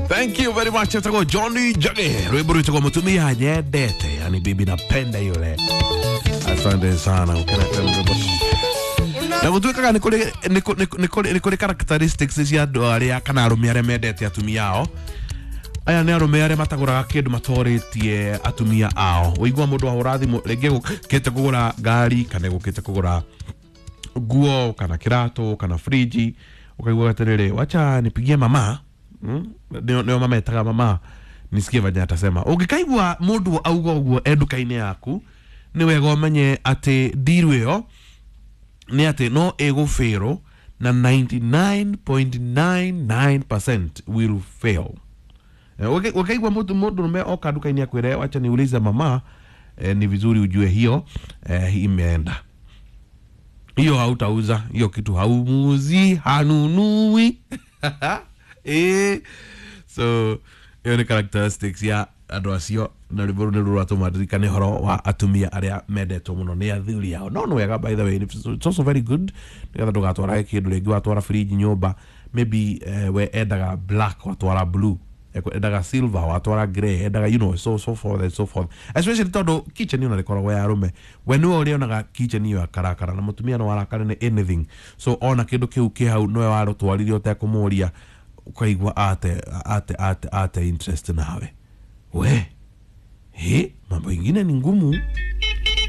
Thank you very much. Etagwo Johnny Jage, rwimbo rwitagwo mutumia nyendete, yani bibi napenda yule. Asante sana ukerete rwimbo. Na gũtuĩkaga nĩ kũrĩ nĩ kũ- nĩ kũ- nĩ kũrĩ nĩ kũrĩ characteristics cia andũ arĩa kana arũme arĩa mendete atumia ao. Aya nĩ arũme arĩa matagũraga kĩndũ matorĩtie atumia ao. Ũigua mũndũ ahũra thimũ rĩngĩ gũkĩte kũgũra ngari kana gũkĩte kũgũra nguo kana kĩratũ kana friji, ũkaigua atĩrĩrĩ, wacha nipigie mama, Nĩo mametaga mama, nisikie venye atasema. Ũngĩkaigua mũndũ auga ũguo e nduka-inĩ yaku, nĩ wega ũmenye atĩ ndiru ĩyo nĩ atĩ no ĩgũbĩrwo na 99.99% will fail. Ũkaigua mũndũ rũme oka nduka-inĩ akwĩre, "Wacha niulize mama," ni vizuri ujue hiyo imeenda. Hiyo hautauza hiyo kitu, haumuzi, hanunui. So ĩyo nĩ characteristics ya andũ acio, na rwĩmbo rũu nĩ rũratũma ndirikane ũhoro wa atumia arĩa mendetwo mũno nĩ athuri ao. No nĩ wega, by the way, it's also very good nĩgetha ndũgatwarage kĩndũ rĩngĩ. Watwara fridge nyũmba, maybe we endaga black, watwara blue, endaga silver, watwara grey, endaga so forth and so forth, especially tondũ kitchen ĩyo rĩkoragwo ya arũme. We nĩwe ũrĩonaga kitchen ĩyo akarakara, na mũtumia no arakare nĩ anything. So ona kĩndũ kĩu kĩ hau nĩwe warũtwarire ũtekũmũria, ũkaigua ate interest nawe. We he, mambo ingine ni ngumu.